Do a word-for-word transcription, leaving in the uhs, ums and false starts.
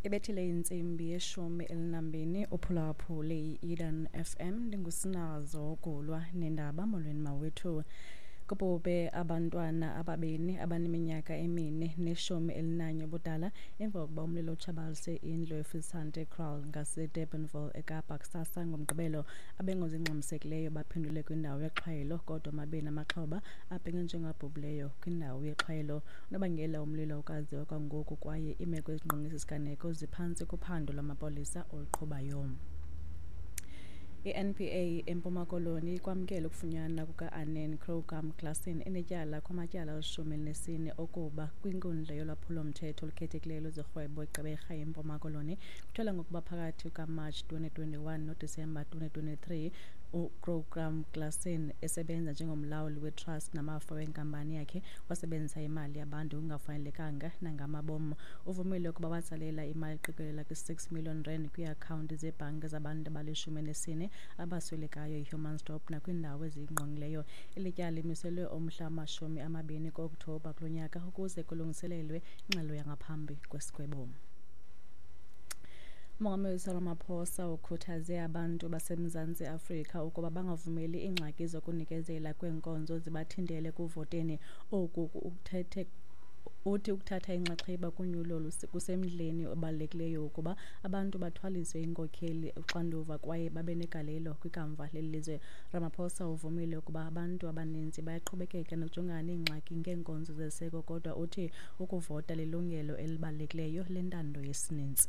Ibethile intsimbi yeshumi elinambini, uphulaphule i-Eden F M. Ndingusinazo Gulwa nendaba. Molweni mawethu. Kubhubhe abantwana ababini abaneminyaka emine neshumi elinanye ubudala emva kokuba umlilo utshabalalise indlu eFisante Kraal ngaseDurbanville eKapa kusasa ngoMgqibelo. Abengozi ingxamisekileyo baphendule kwindawo yexhwayelo, kodwa amabini amaxhoba abhengezwe njengabhubhileyo kwindawo yexhwayelo. Unobangela womlilo awukaziwa kwangoku kwaye iimeko ezingqonge esi siganeko ziphantsi kophando lwamapolisa oluqhubayo. I-N P A eMpuma Koloni ikwamkele ukufunyanwa kuka-Anen Crocombe Claassen enetyala kumatyala alishumi elinesine okuba kwinkundla yolwaphulo-mthetho olukhethekileyo lwezorhwebo eGqeberha eMpuma Koloni. Kutyholwa ngokuba phakathi kukaMatshi twenty twenty-one noDisemba twenty twenty-three, uCrocombe Claassen esebenza njengomlawuli wetrust namafa wenkampani yakhe wasebenzisa imali yabantu ngokungafanelekanga nangamabom. Uvumile ukuba watsalela imali eqikelela kwi-six million rand kwiiakhawunti zebhanki zabantu abalishumi elinesine abaswelekayo eHumansdorp nakwiindawo eziyingqongileyo. Eli tyala limiselwe umhla wamashumi amabini ku-Okthobha kulo nyaka ukuze kulungiselelwe ingxelo yangaphambi kwesigwebo. Umongameli Cyril Ramaphosa ukhuthaze abantu baseMzantsi Afrika ukuba bangavumeli iingxaki zokunikezela kweenkonzo zibathintele ekuvoteni. Oku ukuthethe uthi ukuthatha inxaxheba kunyulo kusemdleni obalulekileyo ukuba abantu bathwaliswe iinkokheli uxanduva kwaye babe negalelo kwikamva leli lizwe. Ramaphosa uvumile ukuba abantu abaninzi bayaqhubekeka nokujongana neengxaki ngeenkonzo zesiseko, kodwa uthi ukuvota lilungelo elibalulekileyo lentando yesininzi.